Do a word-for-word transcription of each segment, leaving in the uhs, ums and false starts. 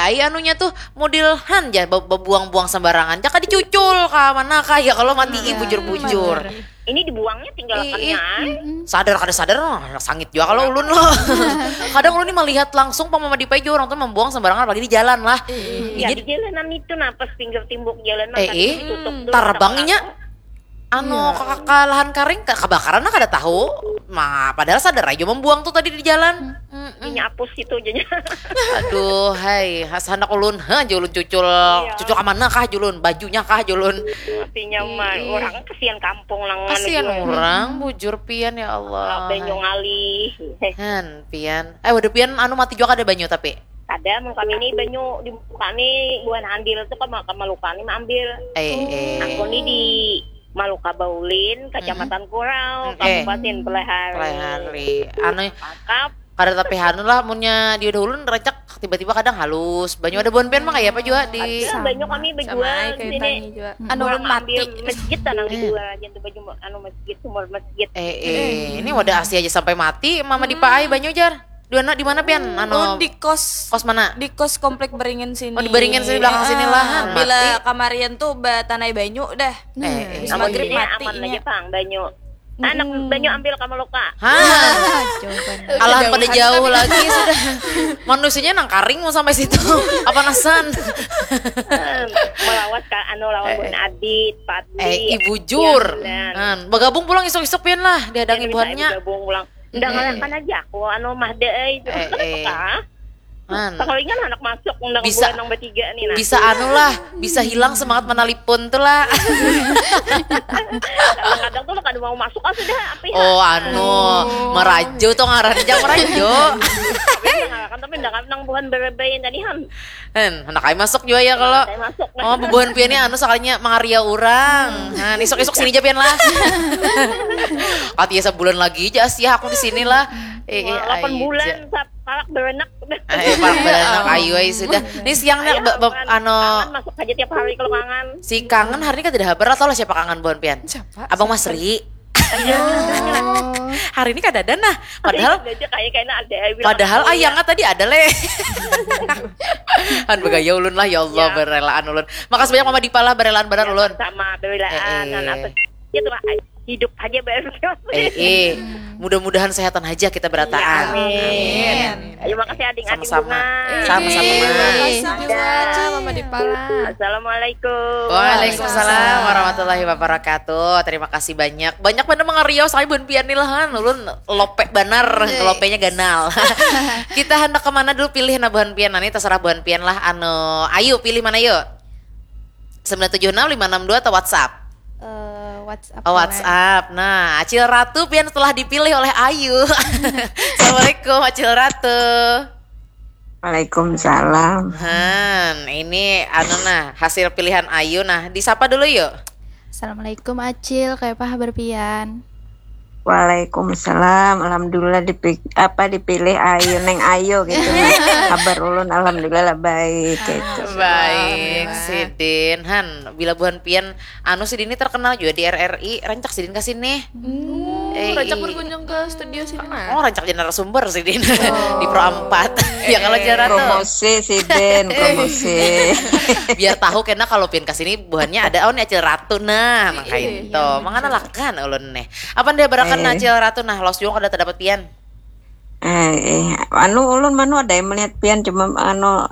Ai anunya tuh model han ja be- bebuang-buang sembarangan. Jaka dicucul ka mana kah ya kalau mati ih, bujur-bujur. Ini dibuangnya tinggalkannya. Ih, ih. Sadar kada sadar, nah, sangit juga kalau ulun loh. Kadang ulun nih melihat langsung pamama dipai juga orang tuh membuang sembarangan apalagi di jalan lah. Iya, di jalanan itu nah pas pinggir timbuk jalan mah eh, tadi eh. Ditutup tuh. Tarbangnya anu iya. Ke, ke lahan kering ke, kebakaran lah kada tahu. Ma, padahal sadar aja membuang tuh tadi di jalan. Ini apus itu jadinya. Aduh, hai, has handak ulun, ha, julun cucul, iya. Cucul ke mana kah julun, bajunya kah julun. Artinya mah orang kasihan kampung lah. Kasihan orang, bujur pian ya Allah. Banyu ngalih. Han, pian. Eh, waduh pian anu mati juga ada banyu tapi. Ada, mun kami ni banyu di kami buhan ambil tu kama kama luka ni maambil. Eh, eh. Aku ni di Maluka Baulin, Kecamatan Kurau, Kabupaten Pelehari. Pelehari. Anu, mantap. Kada tapi hanu lah, munnya di ulun rancak tiba-tiba kadang halus. Banyu ada buhan pian mah kaya apa jua di. Ada, banyu kami bejual di sini. Anu ulun mati. Masjid tanang dijual aja tu baju anu masjid, sumur masjid. Eh, eh. Ini wadah asli aja sampai mati, mama dipaai banyu jar. Di mana, di mana pian? Anu, oh, di kos. Kos mana? Di kos komplek Beringin sini. Oh, di Beringin sini, belakang sini lah. Bila kamarian tuh batanai banyu dah. Eh, eh. Habis maghrib mati aman aja pang banyu. Anak banyu ambil kamu luka. Hah? Alah pada jauh lagi sudah. Manusianya nang karing mau sampai situ. Apa nasan? Melawas ka anu lawan buhan Adit, Padli. Eh, ibu jur. Bagabung pulang isuk-isuk pian lah dihadangi buhannya. Gabung pulang. Undang anak kan aja aku anu mah deh itu. Eh, eh. Man. Sakalingan anak masuk undang bisa, nang bertiga nih nah. Bisa anu lah, bisa hilang semangat menelpon tuh lah. Kadang-kadang tuh kada mau masuk ah sudah apa ya. Oh anu, oh. Merajo tuh ngaran aja merajo. Tapi nang buhan berbayan tadi han. Hen, anak ai masuk juga ya kalau. Oh, bubuhan pian ni anu sakalinya mangaria urang. Nah, isuk-isuk sini aja pian lah. Kati ya sebulan lagi aja sih aku di sini lah. Eh, eh, delapan bulan sap parak beranak. Eh, parak beranak ayu ai sudah. Ini siang nih anu masuk aja tiap hari kalau kangen. Si kangen hari ini kan tidak habar atau lah siapa kangen buhan pian? Siapa? Abang Masri. Hari ini kada ada nah. Padahal padahal ayangnya tadi ada leh. Kan begaya ulun lah ya Allah berelaan ulun. Makasih banyak Mama Dipa lah berelaan benar ulun. Sama berelaan eh, eh. Apa gitu lah hidup aja baru. Eh, eh. Mudah-mudahan sehatan aja kita berataan. Ya, amin. Amin. Ayo makasih ading-ading sama-sama. Sama-sama. Terima kasih juga Mama Dipa lah. Assalamualaikum. Waalaikumsalam warahmatullahi wabarakatuh. Terima kasih banyak. Banyak benar mangariau saya buhan pian nih lah kan. Ulun lope benar, yes. Lopenya ganal. Kita hendak kemana dulu pilih nah buhan pian. Nah, ini terserah buhan pian lah. Anu, ayo pilih mana yuk? Sembilan tujuh enam lima enam dua atau WhatsApp? Uh, WhatsApp. Oh, WhatsApp. Nah, Acil Ratu pian telah dipilih oleh Ayu. Assalamualaikum Acil Ratu. Waalaikumsalam. Han, ini anu nah, hasil pilihan Ayu nah. Disapa dulu yuk. Assalamualaikum Acil, kayapa habar pian? Waalaikumsalam. Alhamdulillah dipik apa dipilih Ayu neng Ayu gitu. Habar ulun alhamdulillah baik gitu. Baik, sidin. Han, bila buhan pian anu sidin ini terkenal juga di R R I, rancak sidin ke sini. Hmm, eh, rancak berkunjung ke studio sini nah. Oh, rancak jadi narasumber sidin. Oh. Di Pro empat. Ya kalau cara tuh. Promosi sidin, promosi. Biar tahu karena kalau pian ke sini buhannya ada oh ini Acil Ratu nah, makanya itu. Mangana lakan ulun nih. Apa ndah barakan eh. Acil Ratu nah los juga kada terdapat pian. Eh, eh, anu ulun manu ada yang melihat pian cuma anu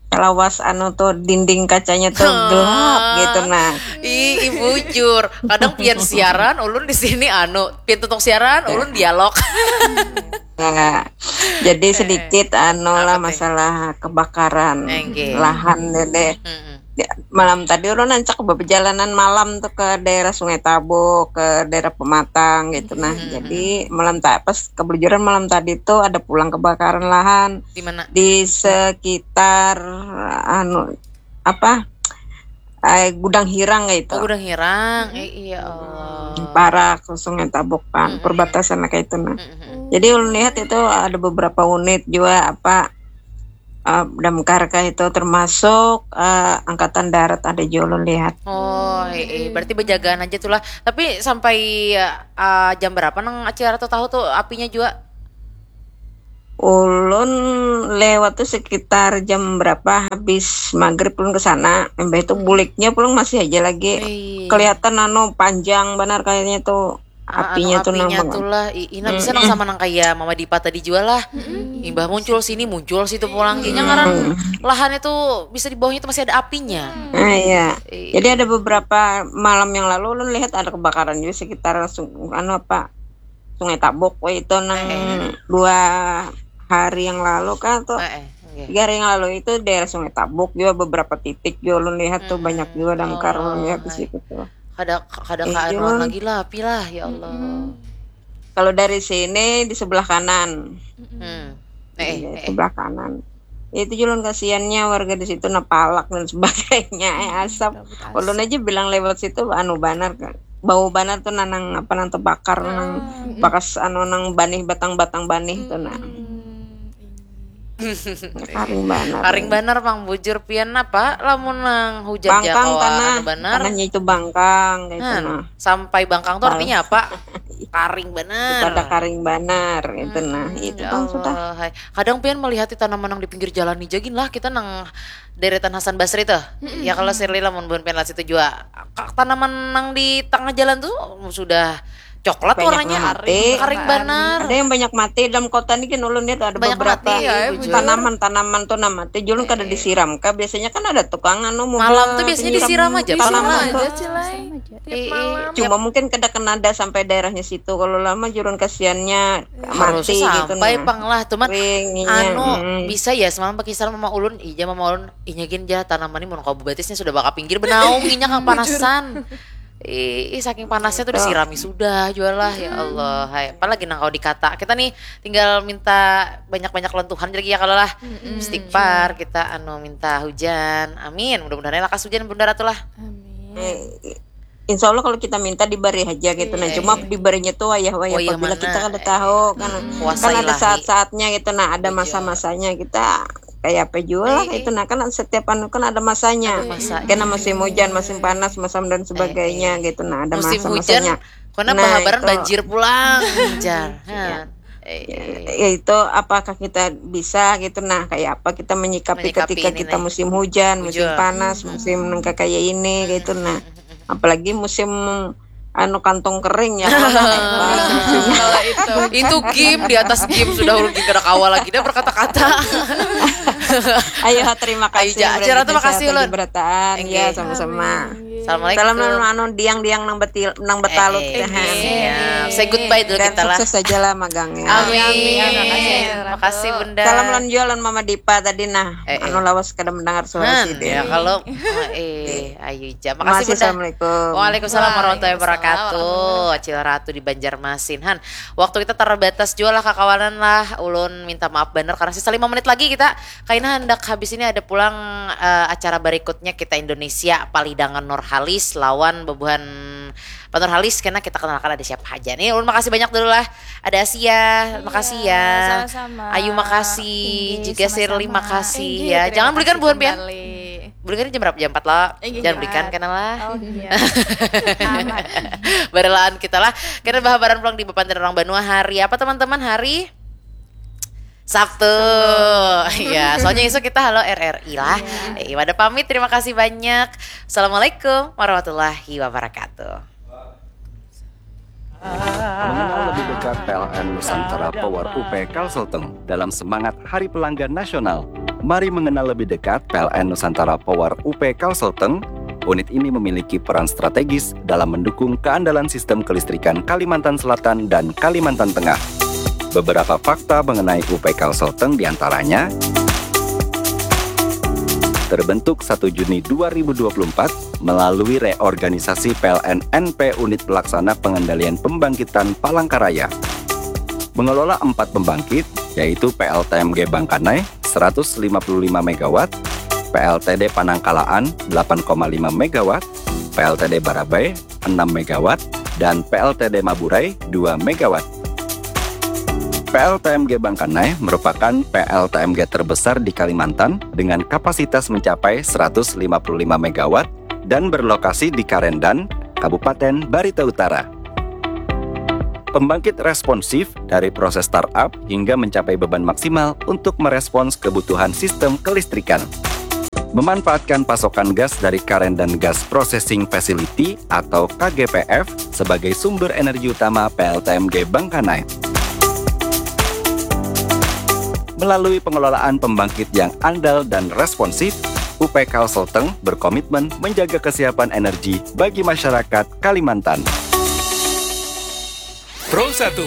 lawas anu tuh dinding kacanya tuh gelap gitu nah. Ih, bujur. Kadang pian siaran ulun di sini anu, pian tutup siaran ulun dialog. Nah, jadi sedikit anu lah masalah kebakaran lahan deh. Malam tadi ulun ancak perjalanan malam tuh ke daerah Sungai Tabo, ke daerah Pematang gitu nah. Jadi malam tak pas kebelujuran malam tadi tuh ada pulang kebakaran lahan di sekitar anu apa eh, gudang hirang kayak itu. Oh, gudang hirang. Eh, iya Allah. Parak Sungai Tabo kan, perbatasan kayak itu nah. Jadi ulun lihat itu ada beberapa unit juga apa uh, damkar kah itu termasuk uh, angkatan darat ada juga ulun lihat. Oh, eh, eh. Berarti berjagaan aja tuh lah. Tapi sampai uh, jam berapa nang acara tuh tahu tuh apinya juga? Ulun lewat tuh sekitar jam berapa, habis maghrib ulun ke sana. Imbah itu buliknya pulang masih aja lagi. Kelihatan anu panjang banar kayaknya tuh. Ah, anu apinya tuh nang apinya tuh lah. Ih, nah bisa nang sama nang kayak Mama Dipa tadi jua lah. Imbah muncul sini, muncul situ pulang. Kayaknya ngaran lahannya tuh bisa di bawahnya tuh masih ada apinya. Ah, iya. Jadi ada beberapa malam yang lalu ulun lihat ada kebakaran juga sekitar sung- anu apa, Sungai Tabuk, weh, itu nang dua hari yang lalu kan tuh. Eh, eh, oke. Tiga hari yang lalu itu daerah Sungai Tabuk juga beberapa titik juga ulun lihat tuh banyak juga damkar ulun lihat di Oh, situ tuh. Kada kada Eh, kaanuan Jun. Lagi lah api lah ya Allah. Kalau dari sini di sebelah kanan, Hmm. Eh, iya, eh, eh. Sebelah kanan. Itu Julun kasihannya warga di situ napalak dan sebagainya, eh, asap. Kabut Ulun asap. Aja bilang lewat situ anu banar kan. Bau banar tuh nanang apa nang terbakar nang Mm-mm. bakas anu nang banih batang-batang banih tuh nah. Hmm, ini. Karing banar. Karing banar pang bujur pian apa lamun nang hujan ja Bangkang kawa tanah, anu banar. Tanahnya itu bangkang kayak itu Nah, nah. Sampai bangkang tuh Bal- artinya apa? Karing banar. Pada karing banar itu nah. Itu Ya bang sudah. Allah, hai. Kadang pian melihat di tanaman yang di pinggir jalan ni jagin lah kita nang deretan Hasan Basri tuh. Ya kalau Shirley lamun buhan pian lihat situ jua. Ka- Tanaman nang di tengah jalan tuh sudah coklat Banyak warnanya nang mati. Karing banar. Ada yang banyak mati dalam kota ini kan ulun lihat ada Banyak beberapa mati, ya, bujur. Tanaman-tanaman tuh nama teh Julun kada disiram kah? Biasanya kan ada tukang anu mobil Malam tuh biasanya penyiram disiram aja. tanaman Biasanya. tuh. Aja sih, Lai. Ih, Tiap malam. Cuma mungkin kada kena ada sampai daerahnya situ. Kalau lama Julun kasihannya Harusnya mati gitu sampai nah. Pang lah, cuman Kering, iya, anu mm. Bisa ya semalam pakai salam sama ulun, ija mama ulun, inya gin ja tanaman ini mun kau batisnya sudah bakal pinggir benaung inya kang panasan. Ih, ih, saking panasnya tuh disirami sudah jual lah ya Allah. Hai, apalagi nang kau dikata. Kita nih tinggal minta banyak-banyak lawan Tuhan lagi ya kalau lah. Istighfar kita anu minta hujan. Amin. Mudah-mudahan lakas hujan Bunda Ratu lah. Amin. Eh, Insya Allah kalau kita minta diberi aja gitu nah. Iya, Cuma iya. diberinya tuh wayah-wayah Wayah apabila mana? kita kada tahu kan. Kuasa Kan ada ilahi. Saat-saatnya gitu nah, ada Betul. Masa-masanya kita kayak apa juga lah Eh, eh. Itu nah kan setiap anu kan ada masanya. Ada masanya. Kena musim hujan, musim panas, musim dan sebagainya gitu nah, ada Musim masa-masanya. Hujan, kena Nah, bahabaran itu. Banjir pulang. Jar. Hah. Eh, Ya, itu apakah kita bisa gitu nah, kayak apa kita menyikapi, Menyikapi ketika ini kita nih. Musim hujan, musim Bujur. Panas, musim nang kayak ini gitu nah. Apalagi musim anu kantong kering ya. Kalau itu. Itu game di atas game sudah ulun kada kawa lagi dah berkata-kata. Ayo, terima kasih. Ayo, Ja. Bulan Acara tuh Indonesia makasih, atas Ulun. Berataan. Enggih. Ya, sama-sama. Assalamualaikum. Salam anu diang-diang nang betil, nang betalut. Eh, eh, Sehat. iya. Say goodbye dulu Dan kita lah. Sukses aja lah magangnya. Amin. Amin. Makasih Bunda. Salam lan jualan Mama Dipa tadi nah. Eh, eh. Anu lawas kada mendengar suara Han, sidin. Ya kalau eh ayo Ja. Makasih Makasih, Bunda. Assalamualaikum. Waalaikumsalam warahmatullahi wabarakatuh. Waalaikumsalam. Acil Ratu di Banjarmasin. Han, waktu kita terbatas juga lah kakawanan lah. Ulun minta maaf bener karena sisa lima menit lagi kita kaina hendak habis ini ada pulang eh, acara berikutnya kita Indonesia Palidangan Nurhalis lawan bebuhan Pak Nurhalis karena kita kenalkan ada siapa aja nih. Ulun makasih banyak dulu lah. Ada Asia, makasih ya. Sama-sama. Ayu makasih, Inggih, juga Shirley sama-sama. makasih Inggih, ya. terima Jangan belikan kasih buhan pian. Kembali. Belikan jam berapa? Jam empat lah. Inggih, Jangan jam belikan empat. Kena lah. Oh iya. Berlaan kita lah. Kita bahabaran pulang di Bapandan Orang Banua hari apa teman-teman? Hari Sabtu. Ya, soalnya esok kita halo R R I lah. Eh, pada pamit, terima kasih banyak. Assalamualaikum warahmatullahi wabarakatuh. Mengenal lebih dekat P L N Nusantara Power U P Kalselteng dalam semangat Hari Pelanggan Nasional. Mari mengenal lebih dekat P L N Nusantara Power U P Kalselteng. Unit ini memiliki peran strategis dalam mendukung keandalan sistem kelistrikan Kalimantan Selatan dan Kalimantan Tengah. Beberapa fakta mengenai U P Kalselteng diantaranya terbentuk satu Juni dua ribu dua puluh empat melalui reorganisasi P L N N P Unit Pelaksana Pengendalian Pembangkitan Palangkaraya. Mengelola empat pembangkit, yaitu P L T M G Bangkanai seratus lima puluh lima megawatt, P L T D Panangkalaan delapan koma lima megawatt, P L T D Barabai enam megawatt, dan P L T D Maburai dua megawatt. P L T M G Bangkanai merupakan P L T M G terbesar di Kalimantan dengan kapasitas mencapai seratus lima puluh lima megawatt dan berlokasi di Karendan, Kabupaten Barito Utara. Pembangkit responsif dari proses startup hingga mencapai beban maksimal untuk merespons kebutuhan sistem kelistrikan. Memanfaatkan pasokan gas dari Karen dan Gas Processing Facility atau K G P F sebagai sumber energi utama P L T M G Bangkanai. Melalui pengelolaan pembangkit yang andal dan responsif, U P Kalsel Teng berkomitmen menjaga kesiapan energi bagi masyarakat Kalimantan. Pro satu.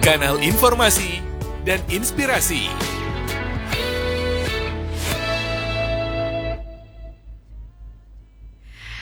Kanal informasi dan inspirasi.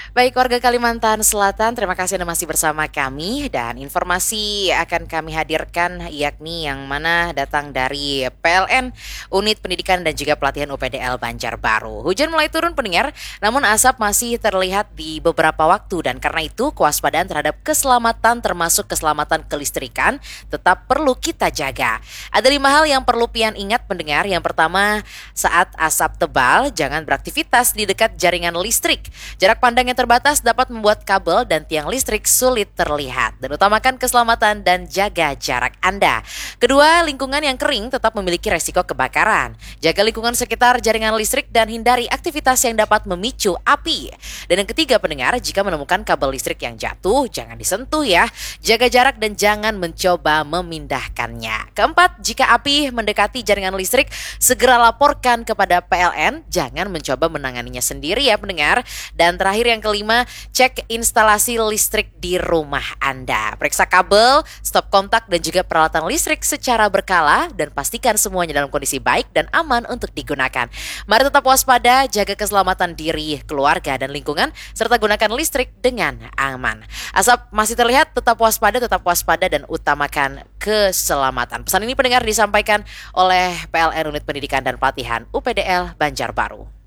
Baik, warga Kalimantan Selatan, terima kasih Anda masih bersama kami, dan informasi akan kami hadirkan yakni yang mana datang dari P L N, Unit Pendidikan dan juga Pelatihan U P D L Banjarbaru. Hujan mulai turun, pendengar, namun asap masih terlihat di beberapa waktu, dan karena itu kewaspadaan terhadap keselamatan termasuk keselamatan kelistrikan tetap perlu kita jaga. Ada lima hal yang perlu pian ingat, pendengar. Yang pertama, saat asap tebal, jangan beraktivitas di dekat jaringan listrik. Jarak pandang yang terbatas dapat membuat kabel dan tiang listrik sulit terlihat. Dan utamakan keselamatan dan jaga jarak Anda. Kedua, lingkungan yang kering tetap memiliki resiko kebakaran. Jaga lingkungan sekitar jaringan listrik dan hindari aktivitas yang dapat memicu api. Dan yang ketiga, pendengar, jika menemukan kabel listrik yang jatuh, jangan disentuh ya. Jaga jarak dan jangan mencoba memindahkannya. Keempat, jika api mendekati jaringan listrik, segera laporkan kepada P L N. Jangan mencoba menanganinya sendiri ya, pendengar. Dan terakhir, yang kelima, cek instalasi listrik di rumah Anda. Periksa kabel, stop kontak, dan juga peralatan listrik secara berkala, dan pastikan semuanya dalam kondisi baik dan aman untuk digunakan. Mari tetap waspada, jaga keselamatan diri, keluarga, dan lingkungan, serta gunakan listrik dengan aman. Asap masih terlihat, tetap waspada, tetap waspada, dan utamakan keselamatan. Pesan ini, pendengar, disampaikan oleh P L N Unit Pendidikan dan Pelatihan U P D L Banjarbaru.